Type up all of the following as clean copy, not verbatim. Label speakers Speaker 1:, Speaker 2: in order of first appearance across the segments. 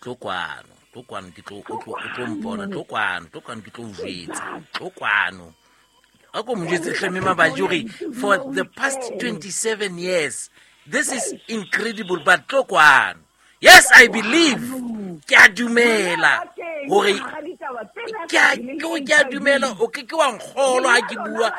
Speaker 1: Tlo kwano, tlo kwano ke tlo o tlo o tlo mpona, tlo kwano, tlo kwano ke tlo o jwetsa, tlo kwano. A ko mo jwetse hle mme Mabaji hore for the past 27 years this is incredible but tlo kwano. Yes, I believe. Ke a dumela hore ke a ke ke a dumela o ke ke wa nkgolwa ha ke bua.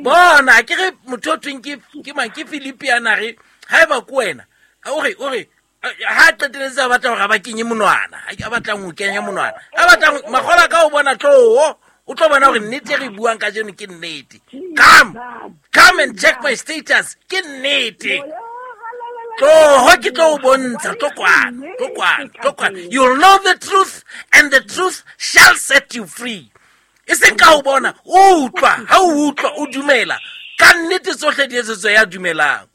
Speaker 1: Bona ke re motho o thweng ke ke mang ke Filipi a na re haeba ke wena o re o re ha qeteletse a batla gore a ba kenye monwana a batlang go kenya monwana a batlang magola ka o bona tloo o tlo bona gore nnete e re buang ka jeno ke nnete. Come, come and check my status, ke nnete. Tloho ke tlo o bontsha, tlo kwano, tlo kwano, tlo kwano. You'll know the truth and the truth shall set you free. E seng ka o bona, o utlwa, ha o utlwa o dumela ka nnete tsohle di etsetswe ya dumelang.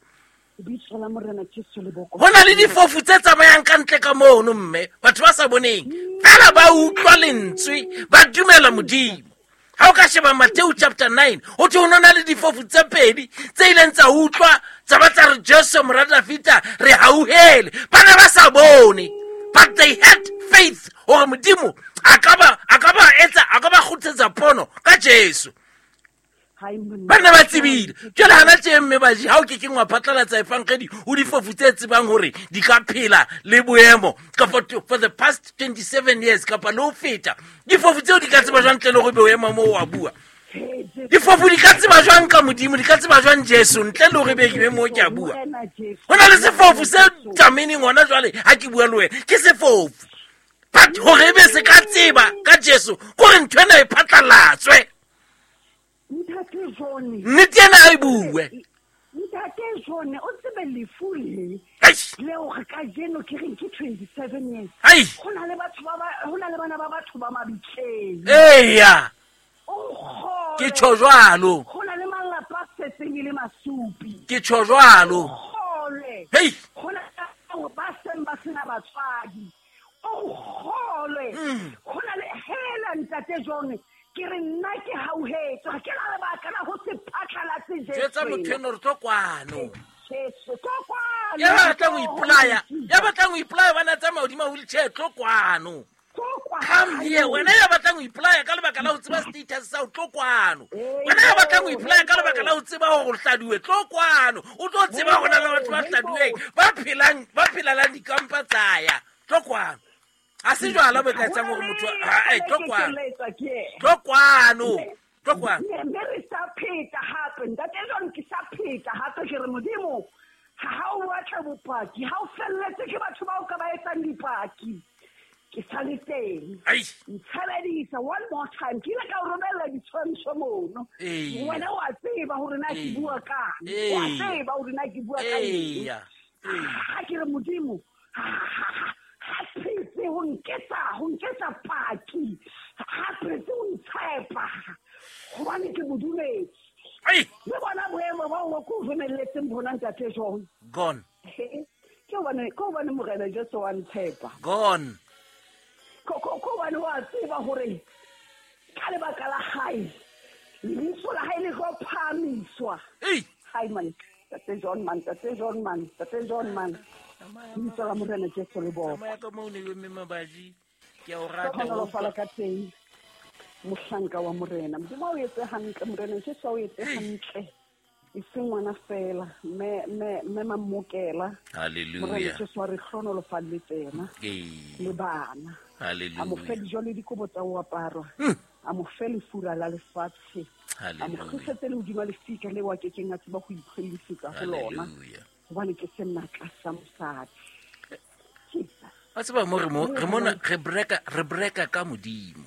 Speaker 1: Go na le difofu tse tsamayang ka ntle ka mono mme batho ba sa boneng fela ba utlwa lentswe ba dumela Modimo. Ga o ka sheba Mateo chapter 9 go thwe go na le difofu tse pedi tse ileng tsa utlwa tsa ba tsa re Jesu mora Dafita re hauhele. Ba ne ba sa bone but they had faith gore Modimo a ka ba a ka ba etsa a ka ba kgothetsa pono ka Jesu. Ba ne ba tsebile jale gana tse mme baji ga o ke keng wa phatlalatsa efangedi o difofu tse tsebang gore di ka phela le boemo kapa for the past 27 years kapa le ho feta. Difofu tseo di ka tseba jwang ntle le gore be o ema mo wa bua? Difofu di ka tseba jwang ka Modimo, di ka tseba jwang Jesu ntle le gore be ke be mo ke a bua? Go na le sefofu se tameneng gona jwale ga ke bua le wena ke sefofu, but gore e be se ka tseba ka Jesu kore ntho ena e phatlalatswe. Nnete ena a e bue.
Speaker 2: Ntate John, o tsebe lefu le leo re ka jeno ke reng ke 27 years. Go na le batho ba go na le bana ba batho ba mabitleng.
Speaker 1: Eya, ke tjho jwalo.
Speaker 2: Go na le malapa a setseng e le masupi.
Speaker 1: Ke tjho jwalo.
Speaker 2: Hei. Go na le ba seng ba sena batswadi. O kgolwe. Go na le hela ntate John, ke re nna ke hauhetswe, ga ke na lebaka la go se phatlalatse Jesu.
Speaker 1: Jwetsa motho eno re tlo kwano.
Speaker 2: Jesu, tlo kwano.
Speaker 1: Ya batlang ho ipolaya, ya batlang ho ipolaya bana tsamaya hodima wheelchair, tlo kwano. Come here, wena ya batlang ho ipolaya ka lebaka la ho tseba status sa ho, tlo kwano. Wena ya batlang ho ipolaya ka lebaka la ho tseba hore o hladuwe, tlo kwano. O tlo tseba hore na le batho ba hladuweng, ba phelang, ba phelelang dikampa tsaya. Tlo kwano. Ha se jwala bo ka etsang hore motho ha tlo kwano. Tlo kwano. Tlo kwano.
Speaker 2: Mme re sa pheta hape, ntate John, ke sa pheta hape ke re Modimo, ha o batla bopaki, ha o felletse ke batho bao ka ba etsang dipaki. Ke sa le teng. Ntshebedisa one more time. Ke ile ka o romella ditshwantsho mono. Wena wa tseba hore na ke bua kang. Wa tseba hore na ke bua ka eng. Ha ke re Modimo, ha phetse ho nketsa paki, ha phetse ho ntshepa hobane ke modumedi. Le bona boemo ba o ko romelletseng bona ntate John.
Speaker 1: Gone.
Speaker 2: Ke hobane Morena Jesu wa ntshepa.
Speaker 1: Gone.
Speaker 2: Ke hobane wa tseba hore ka lebaka la hae lebitso la hae le tlo phahamiswa. Hai man, Tate John man, Tate John man, Tate John man. Lebitso la Morena Jesu le bokwe.
Speaker 1: Tsamaya ka moo ne mme Mabaji, ke a o rata.
Speaker 2: Hlohonolofala ka teng, mohlanka wa Morena. Modimo o etse hantle, Morena Jesu o etse hantle. E seng ngwana fela, mme Mamokela.
Speaker 1: Hallelujah.
Speaker 2: Morena Jesu wa re hlohonolofalletse yena. Le bana.
Speaker 1: Hallelujah.
Speaker 2: A mo fe dijo le dikobo tsa ho aparwa. A mo fe lefura la lefatshe. A mo kgusetse le hodima lefika leo a kekeng a tseba ho iphelisetsa ho lona.
Speaker 1: Hallelujah.
Speaker 2: Hobane ke senatla sa mosadi. Jesus.
Speaker 1: Wa tseba mo re mo, re mona, re breka, re breka ka Modimo.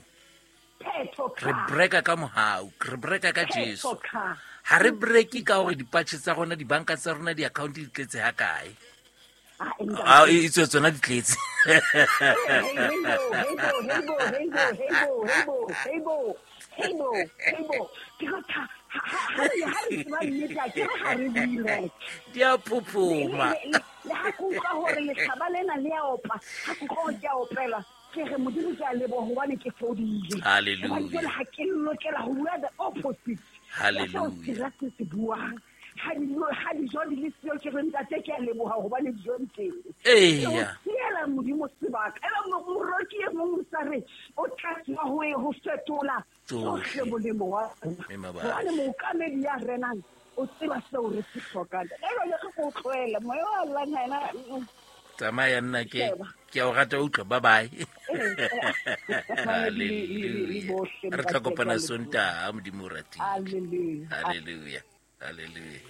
Speaker 1: Re breka ka mohau, re breka ka Jesu. Ha re breke ka hore dipatjhe tsa rona, dibanka tsa rona, di-account di tletse ha kae. A e tswe tsona di tletse. Di a phophoma.
Speaker 2: Le ha ke utlwa hore lehlaba lena le a opa, ha ke utlwa hore ke a opelwa, ke re Modimo ke a leboha hobane ke fodile.
Speaker 1: Hallelujah.
Speaker 2: Hobane jwale ha ke lokela ho bua the opposite.
Speaker 1: Hallelujah.
Speaker 2: Ya seo sera se se buang. Ha dijo di le siyo, ke re ntate ke a leboha hobane dijo di teng.
Speaker 1: Eya.
Speaker 2: Siela Modimo sebaka. Ebe moroki e mong o sa re o tla tswa ho e ho fetola tsohle molemo wa rona. Hobane mookamedi ya renang o tseba seo re se hlokang. Ebe le re ko tlohele moya wa llang ha ena.
Speaker 1: Tsamaya nna ke ke a o rata utlwa. Bye bye. Hallelujah. Re tla kopana Sontaha, Modimo o ratile.
Speaker 2: Hallelujah.
Speaker 1: Hallelujah. Hallelujah.